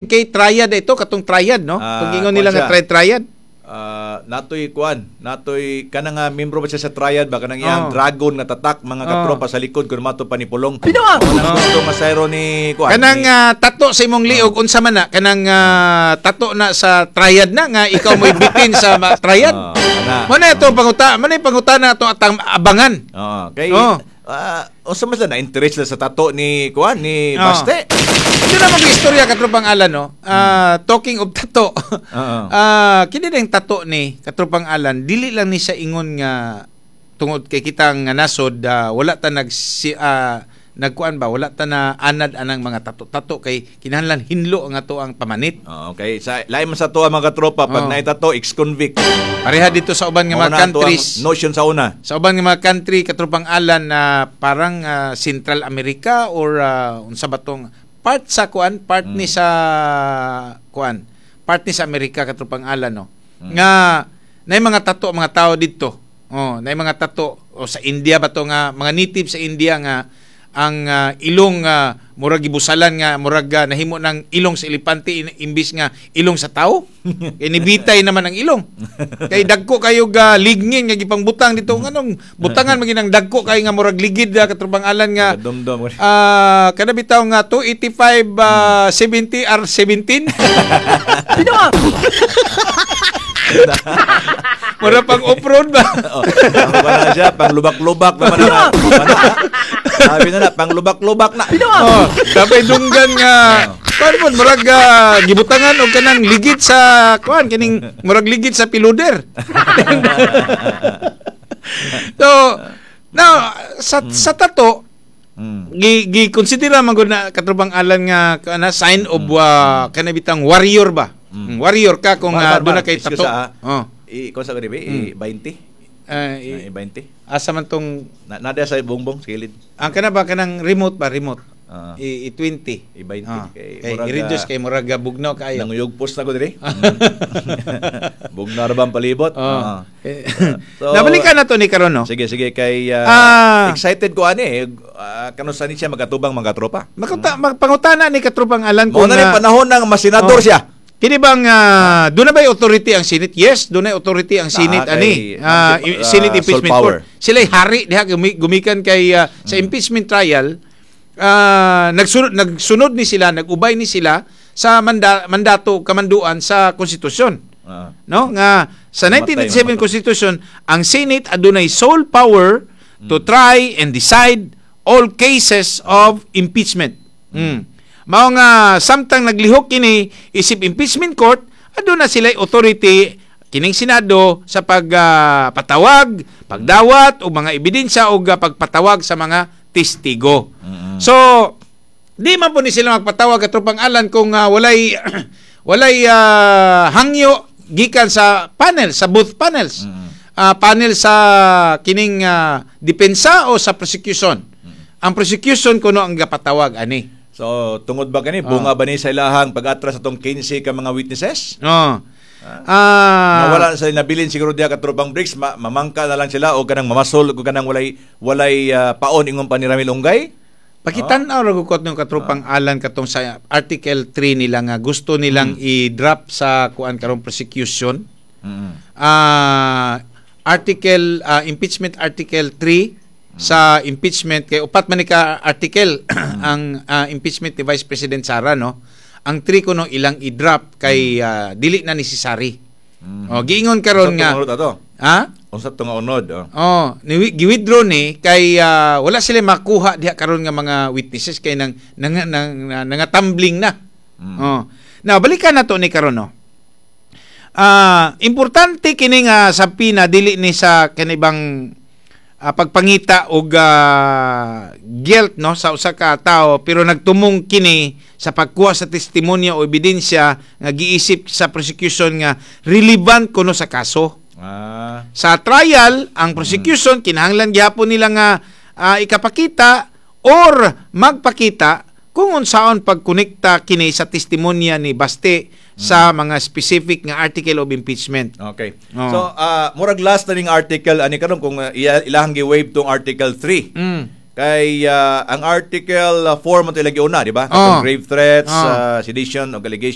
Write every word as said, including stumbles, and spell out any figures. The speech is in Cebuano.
Kay triad ito, katong triad, no? Ah, Pag ingon nila kuwan nga siya. tri- triad. Ah, natoy kuan, natoy kanang nga membro ba siya sa triad ba, kanang iyang Oh. dragon nga tatak, mga Oh. katropa, sa likod kun mato pa ni Pulong. Pino! Gusto nga sayro ni kuan. Kanang ni- ah, tato sa imong liog, unsa man na kanang ah, tato na sa triad na nga ikaw mo'y bitin sa ma- triad. Ah, kana. Mo na ito panguta, mo na yung pangutana ato atang abangan. Oo, kay Oh. ah, unsa man sila na interest sila sa tato ni kuan ni Oh. Baste. Ito na mag istorya, katropang Alan, no? Ah, talking of tato. Oo. Ah, kini na yung tato ni katropang Alan, dili lang ni siya ingon nga tungod kay kitang nga nasod, ah, wala ta nag si ah, nagkuan ba, wala ta na anad anang mga tato-tato kay kinahanglan hinlo ang ato ang pamanit. Oo, okay. Sa lain man sa tuwa, mga katropa, pag Oh. naitato, ex-convict. Pareha dito sa uban nga Mao mga na ato ang countries. notion sa una. Sa uban nga mga country, katropang Alan, na parang ah, Central America or ah, unsa ba tong part sa kuan, part ni sa kuan, part ni sa Amerika, katropang Alan, no, nga nay mga tato ang mga tao didto. Oh, nay mga tato o sa India ba to nga mga native sa India nga ang ah, ilong uh, murag gibusalan nga murag ah, nahimo ng ilong sa elepante in- imbis nga ilong sa tao. Kay nibitay naman ang ilong. Kay dagko kayo ga ligngin nga gipangbutang dito, nganong butangan man ginang dagko kayo nga murag ligid, uh, katropang Alan, nga Dumdum. ah kada bitaw nga two eighty-five ah, seventy R seventeen. Mura pang off-road ba? Oh, ang wala siya, pang lubak-lubak naman na. Sabi na na, pang lubak-lubak na. Oh, tapay dunggan nga kuan mo murag ah, gibutangan og kanang ligid sa kuan, kining murag ligid sa piluder. So, now sa sa tato Mm. gi gi consider man gud na, katropang Alan, nga kana sign of uh, kana bitang warrior ba? Mm. Warrior ka kung Bar, uh, bar, doon na bar. kay Excuse, tato. ah. Oh. I ko sa gani i twenty. Eh, i- I twenty. Asa man tong Na nada sa bongbong sa kilid. Ang kana ba, kanang remote ba, remote? Ah. I, i twenty. I twenty. Ah, Kay kay murag, i-reduce ah, kay murag ah, bugnaw kaayo. Nanguyugpos na ko diri. Bugnaw ra ba ang palibot? Oh. Ah. Eh, So, nabalikan na to ni karon, no. Sige, sige, kay ah, Ah. excited ko ani eh. Uh, kano sa ni siya magatubang mga tropa. Makuta, magpangutana ni katropang Alan Mao kung na rin ah, panahon ng masenador Oh. siya. Kini bang uh, doon na ba authority ang Senate? Yes, doon na authority ang Senate Ah, ani. kay- Ah, ah, i- Senate sole Impeachment power. Court. Sila'y hari diha gumi- gumikan kay ah, sa impeachment trial, ah, nagsunod nagsunod ni sila, nagubay ni sila sa manda, mandato kamanduan sa konstitusyon. Ah. No? Nga sa Mamatay, nineteen eighty-seven mamatay. Constitution, ang Senate adunay sole power to try and decide all cases of impeachment. Mm. Mao nga samtang naglihok kini isip impeachment court, aduna sila authority kining Senado sa pagpatawag, pagdawat og mga ebidensya o pagpatawag sa mga testigo. So, di man po ni sila magpatawag, katropang Alan, kung ah, walay walay ah, hangyo gikan sa panel, sa both panels. Ah, panel sa kining ah, depensa o sa prosecution. Ang prosecution kuno ang gapatawag ani. So, tungod ba kani Ah. bunga ba ni sa ilahang pag-atras atong kinse ka mga witnesses? No. Ah, Nawala na sila nabilin siguro diha, katropang Bricks, ma- mamangka na lang sila o kanang mamasol o kanang walay walay ah, paon ingon pa ni Ramil Ungay. Pakitan-aw ra gud ng katropang Alan katong sa Article three nila nga gusto nilang i-drop sa kuan karong prosecution. Mm. Ah, article ah, impeachment article three sa impeachment, kay upat man ni ka article ang ah, impeachment ni Vice President Sara, no. Ang three kuno ilang i-drop kay ah, dili na necessary. Oh, giingon karon nga Unsa tong ato? Ha? Unsa tong unod? Oh. Oh, ni gi-withdraw ni kay ah, wala sila makuha diha karon nga mga witnesses kay nang nang, nang, nang nangatumbling na. Oh. Now balikan na to ni karon, no. Ah, importante kini nga sa pina dili ni sa kanibang ah, pagpangita og ah, guilt, no, sa usa ka tawo, pero nagtumong kini sa pagkuha sa testimonya o ebidensya nga giisip sa prosecution nga relevant kuno sa kaso. Ah. Sa trial, ang prosecution kinahanglan gihapon nila nga ah, ikapakita or magpakita kung unsaon pagkonekta kini sa testimonya ni Baste sa mga specific nga article of impeachment. Okay. Oo. So, ah, murag last na ning article ani karon kung ah, iya- ilahang gi-waive tong article three. Mm. Kay ah, ang Article four mo ito ilang giuna, di ba? Oh. Katong grave threats, Oh. ah, sedition, og allegation.